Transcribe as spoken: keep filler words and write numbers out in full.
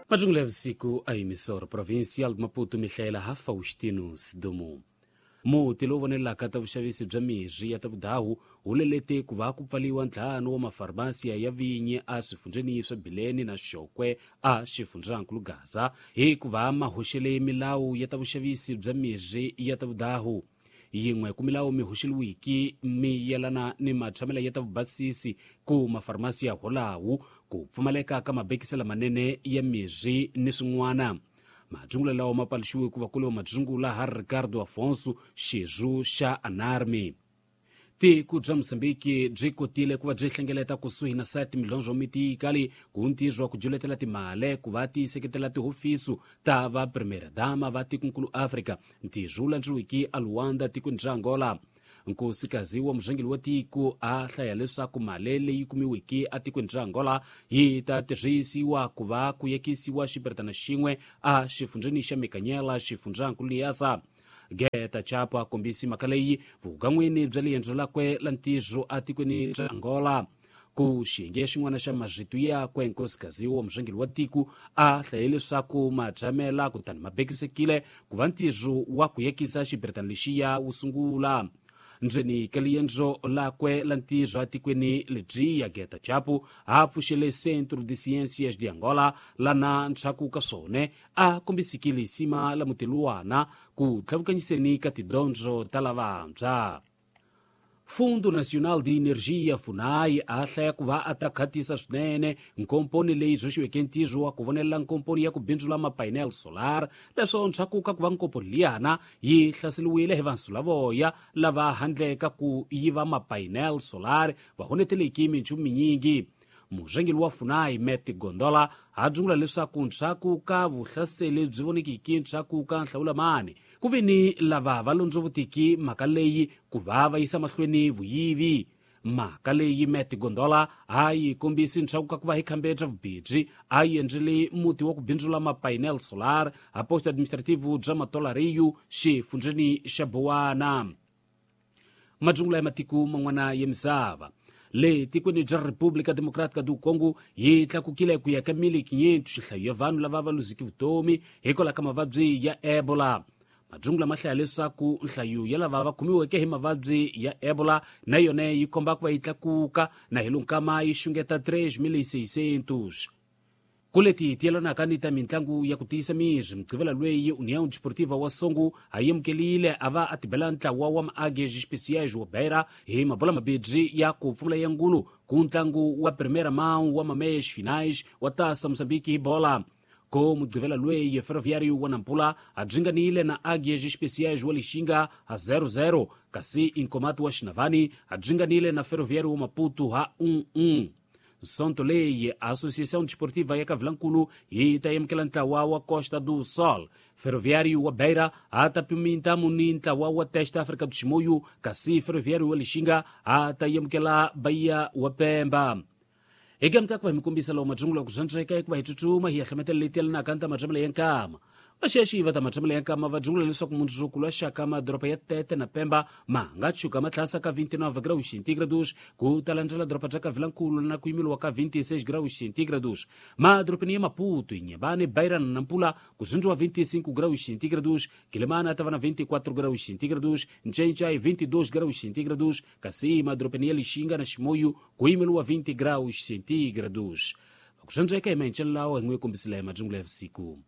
Majungula ya vusiku a emissora provincial de Maputo mihlayela ha Faustino Sidumo. Muti lowu vonelaka ta vuxavisi bya mirhi ya ta vudahu wu lelete ku va ku pfaliwa ntlhanu wa mafarmasiya ya vinyi a swifundzheni swa Bileni na Xokwe a xifundzankulu Gaza hikuva ma hoxele milawu ya ta vuxavisi bya mirhi ya ta vudahu. Yin'we ku milawu mi hoxeliwiki mi yelana ni matshamela ya ta vubasisi ku mafarmasiya holawu ku pfumaleka ka mabekisi lamanene ya mirhi ni swin'wana. Majungula lawa ma paluxiwe ku va kule wa majungula ha Ricardo Afonso xirho xa Anarmi. Tiko bya Mozambique byi kotile ku va byi hlengeleta kusuhi na sati milhondzo mitikali ku ntirho wa ku juletela timali ku va ti seketela tihofiso ta va primera dama va tikonkulu Afrika ntirho wu landziwiki a Luanda tikweni bya Angola. Nkosikazi wa murhangeri wa tiko a hlaya leswaku mali leyi kumiweke etikweni ra Angola yi ta tirhisiwa ku va ku yekisiwa xiperetana xin'we a xifundzheni xa Mikanyela xifundzankulu Niassa. Geta Chapo a kombisi mhaka leyi vugan'wini bya liendzo lakwe la ntirho etikweni ra Angola. Ku xiyenge xin'wana xa marito yakwe nkosikazi wa murhangeri wa tiko a hlaye leswaku matshamela kutani ma bekisekile ku va ntirho wa ku yekisa xiperetana lexiya wu sungula. Ndzeni ka liendzo lakwe la ntirho etikweni lebyiya Geta Chapo a pfuxele Centro de Ciências de Angola lana ndzhaku ka swona a kombisikile sima la mutiluwana ku tlhavukanyiseni ka tidyondzo ta lavantshwa. Fundo Nacional de Energia FUNAI a hlaya ku va a ta khatisa swinene nkomponi leyi hoxiweke ntirho wa ku vonelela nkomponi ya ku bindzula mapainel solar leswo ndzhaku ka ku va nkomponi liyana yi hlaseriwile hi vansulavoya lava handle ka ku yiva mapainel solar va honeteleki minchumu minyingi. Murhangeri wa FUNAI Meti Gondola a dzungula leswaku ndzhaku ka vuhlaseli byi vonekiki ndzhaku ka nhlawulamani ku ve ni lava va londzovutiki mhaka leyi ku va va yisa mahlweni vuyivi. Mhaka leyi Meti Gondola a yi kombisi ndzhaku ka ku va hi khambe bya vubindzi a yi endlele muti wa ku bindzula mapainel solar a posto administrativo bya Matolariyu xifundzheni xa Bowana. Majungula ya matiko man'wana ya misava. Le tikweni bya República Democrática do Congo yi tlakukile ku ya ka mille quinhentos nhlayo ya vanhu lava va luziki vutomi hikwalaho ka mavabyi ya Ebola. Majungula ma hlaya leswaku nhlayo ya lava va khomiweke hi mavabyi ya Ebola na yona yi komba ku va yi tlakuka na hi lunkama yi xungeta tres mil seiscentos. Ku leti ti yelanaka ni ta mitlangu ya ku tiyisa miri mugqivela lweyi União Desportiva wa Songo a amukelile a va a tibela ntlawa wa Maáguias Especiais wa Beira hi mabola mabirhi ya ku pfumala ya ngulu ku ntlangu wa primeira mão wa mameias finais wa Taça Moçambique hi bola. Ko mugqivela lweyi Ferroviário wa Nampula a dzinganile na Águias Especiais wa Lixinga a zero zero kasi Incomato wa Xinavani a dzinganile na Ferroviário wa Maputo a um um. Sonto leyi Associação Desportiva ya Kavilankulu yi ta amukela ntlawa wa Costa do Sol. Ferroviário wa Beira a ta piminta muni ntlawa wa Teste África do Chimoio kasi Ferroviário wa Lixinga a ta amukela Bahia wa Pemba. Eka mitaku va hi mi kombisa lowu majungula ku zwandzeka eku va hi tsutsuma hi ya hlemetela leti yelanaka ni ta matshamelo ya nkama. Vaxexi va ta matshamelo ya nkama va dzungula leswaku mundzuku lwa xaka madoroba ya Tete na Pemba ma nga tshuka ma tlhasa ka vinte e nove graus centígrados ku ta landzela doroba bya Kavilankulu na ku yimeliwa ka vinte e seis graus centígrados. Madorobeni ya Maputo, Inhambane, Beira na Nampula ku zindziwa vinte e cinco graus centígrados, Quilimana ta va na vinte e quatro graus centígrados, Ncencai vinte e dois graus centígrados, kasi madorobeni ya Lixinga na Chimoio ku yimeliwa vinte graus centígrados. Ku zindzeka hi maencelelawo hi n'wi kombisile majungula ya vusiku.